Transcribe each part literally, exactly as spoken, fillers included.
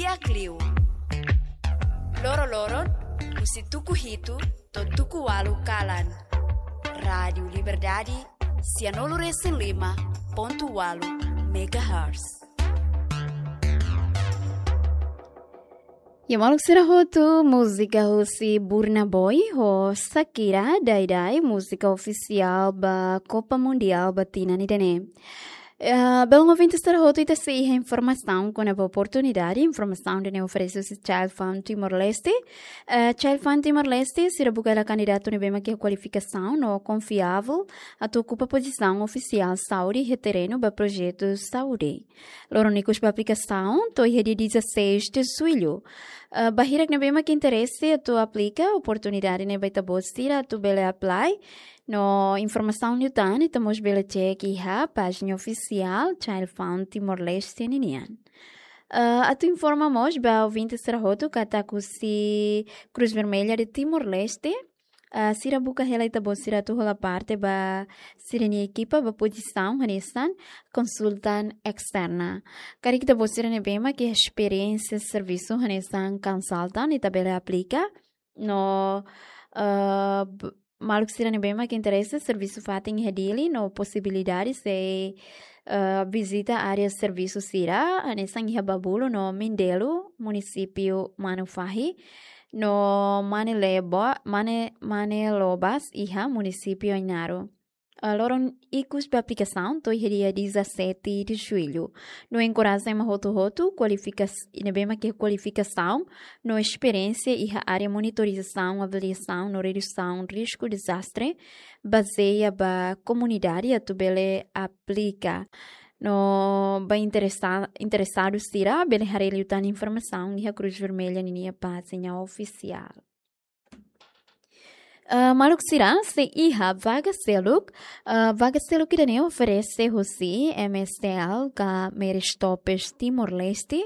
Di'ak liu. Loro-loron, husi tuku hitu to'o tuku ualu kalan. Rádiu Liberdade, sianulu-resin-lima pontu ualu megahertz. Ya, maluk sira hotu, múzika husi Burna Boy ho Shakira, Daidai, múzika ofisiál ba Copa Mundial ba tinan ida-ne'e. Eh, belun ouvinte sira hotu, ita sei iha informasaun kona-ba oportunidade, informasaun ida-ne'e oferese husi Child Fund Timor-Leste. Eh, Child Fund Timor-Leste, sira buka hela kandidatu ne'ebé mak iha kualifikasaun no konfiavel atu okupa pozisaun ofisiál saúde iha terrenu ba projetu saúde. Loron ikus ba aplikasaun to'o iha dia dezasseis de julho. Eh, ba hirak ne'ebé mak interese atu aplika, oportunidade ne'e ba ita-boot sira atu bele apply. No informasaun liután ita mós bele cek iha pájina ofisiál Child Fund Timor-Leste ninian. Eh, atu informa mós ba ouvinte sira hotu katak husi Cruz Vermelha de Timor-Leste, eh, sira buka hela ita-boot sira atu hola parte ba sira-nia ekipa ba pozisaun hanesan konsultan esterna. Karik ita-boot sira ne'ebé mak iha esperiénsia servisu hanesan konsultan, ita bele aplika. No, eh, b-, maluk sira ne'ebé mak interese servisu fatin iha Dili, no posibilidade sei, eh, vizita área servisu sira, hanesan iha Babulu no Mindelo, munisípiu Manufahi, no Mane Lebo-, Mane, Mane Lobas iha munisípiu Ainaro. Eh, loron ikus ba aplikasaun to'o iha dia dezassete de julho. No enkoraja ema hotu-hotu, kualifikas-, ne'ebé mak iha kualifikasaun no esperiénsia iha área monitorizasaun, avaliasaun no redusaun risku dezastre, bazeia ba komunidade atu bele aplika. No ba interesa-, interesadu sira, bele haree liután informasaun iha Cruz Vermelha ninia pájina ofisiál. Eh, maluk sira, sei iha vaga seluk, eh, vaga seluk ida-ne'e oferese husi M S T L ka Mary Stoppes Timor-Leste.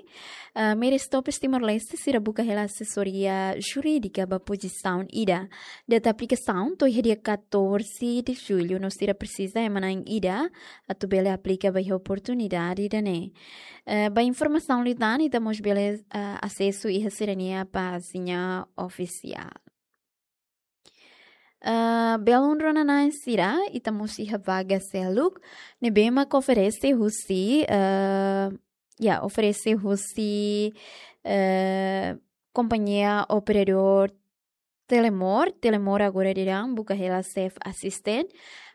Eh, Mary Stoppes Timor-Leste sira buka hela asesoria jurídika ba pozisaun ida. Data aplikasaun to'o iha dia catorze de julho, no sira presiza ema na'in ida atu bele aplika ba iha oportunidade ida-ne'e. Eh, ba informasaun liután ita mós bele, eh, asesu iha sira-nia pájina ofisiál. Eh, belun rona-na'in sira, ita mós iha vaga seluk ne'ebé mak oferese husi, eh, ya, oferese husi, eh, kompañia operadór Telemor, Telemor agora daudaun buka hela chef assistant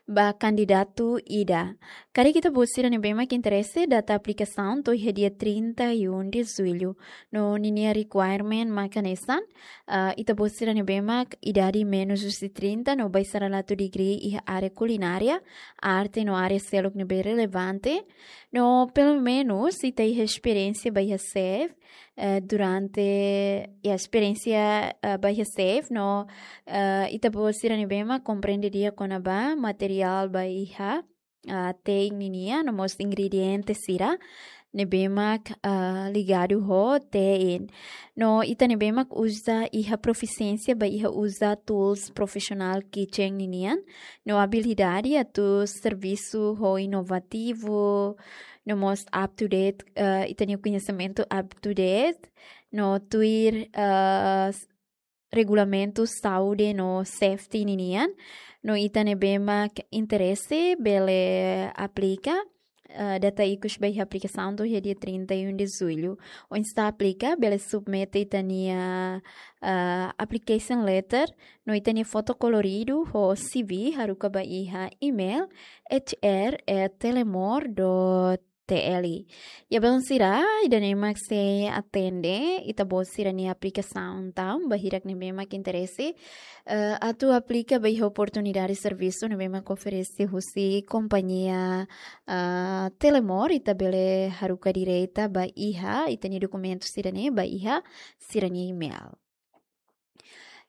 ba kandidatu ida. Karik ita-boot sira ne'ebé mak interese, data aplikasaun to'o iha dia trinta e um de julho. No ninia requirement mak hanesan, ah, ita-boot sira ne'ebé mak idade menus husi trinta no ba iha sala atu degree iha área kulinária, arte no área seluk ne'ebé relevante. No pelumenus ita iha esperiénsia ba iha chef, eh, durante, ya, esperiénsia, eh, ba iha chef, no, eh, ita-boot sira ne'ebé mak komprende di'ak kona-ba materiál ba iha, ah, te'in ninian, no mós ingrediente sira ne'ebé mak, ah, ligadu ho te'in. No ita ne'ebé mak uza iha profisiénsia ba iha uza tools professional kitchen ninian, no abilidade atu servisu ho inovativu, no mós up to date, eh, ita-nia koñesimentu up to date, no tuir, eh, s-, regulamentu saúde no safety ninian, no ita ne'ebé mak interese bele aplika, eh, data ikus ba iha aplikasaun to'o iha dia trinta e um de julho. Oinsá aplika, bele submete ita-nia, eh, application letter, no ita-nia foto koloridu ho C V haruka ba iha email H R at telemor dot T L. Ya, belun sira, ida-ne'e mak sei atende ita-boot sira-nia aplikasaun tan, ba hirak ne'ebé mak interese, eh, atu aplika ba iha oportunidade servisu ne'ebé mak oferese husi kompañia, eh, Telemor, ita bele haruka direta ba iha ita-nia dokumentu sira-ne'e ba iha sira-nia email.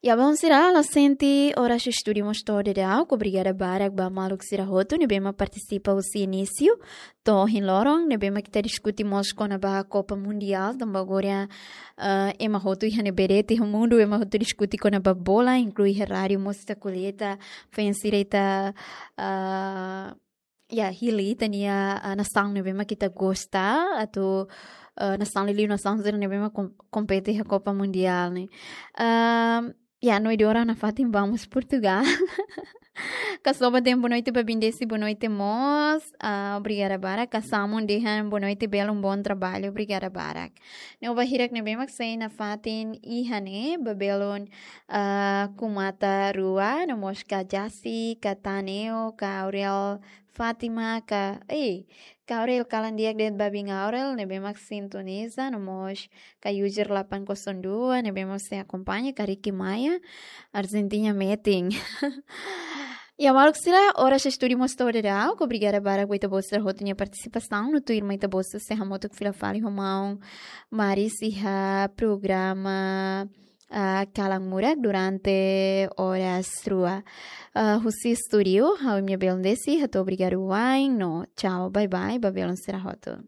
Ya, belun sira, la sente oras estúdiu mós to'o daudaun. Obrigada barak ba maluk sira hotu ne'ebé mak partisipa husi inísiu to'o ohin loron, ne'ebé mak ita diskute mós kona-ba Copa Mundial, tanba agora, eh, ema hotu iha ne'ebé de'it iha mundu, ema hotu diskute kona-ba bola, inklui iha rádiu mós ita ko'alia, ita feen sira ita, eh, ya, hili ita-nia, ah, nasaun ne'ebé mak ita gosta, atu, eh, nasaun liuliu nasaun sira ne'ebé mak kom-, kompete iha Copa Mundial ne'e. Ehm, ya, no idora nafatin vamos Portugal. Kasoba tempu noite ba bindesi boa noite mós. Ah, obrigada barak. Kasamun dehan boa noite belun, bom trabalho. Obrigada barak. Ne'e ba hirak ne'ebé mak sei nafatin iha ne'e, ba belun, ah, Kumata Rua, no mós ka Jasi, ka Taneo, ka Aurel Fátima, ka, eh, ka Aurel kalan di'ak de'it ba biin Aurel, ne'ebé mak sintoniza, no mós ka User delapan kosong dua, ne'ebé mak sei akompaña, ka Ricky Maia, Argentina meeting. Ya, maluk sira, oras estúdiu mós to'o daudaun, obrigada barak ba ita-boot sira hotu nia partisipasaun, no tuirmai ita-boot sei hamutuk fila fali ho maun Maris iha programa, ah, Kalan Murak durante oras rua. Ah, husi estúdiu, ha'u imi-nia belun Desi, hato'o obrigadu wa'in, no tchau, bye bye, ba belun sira hotu.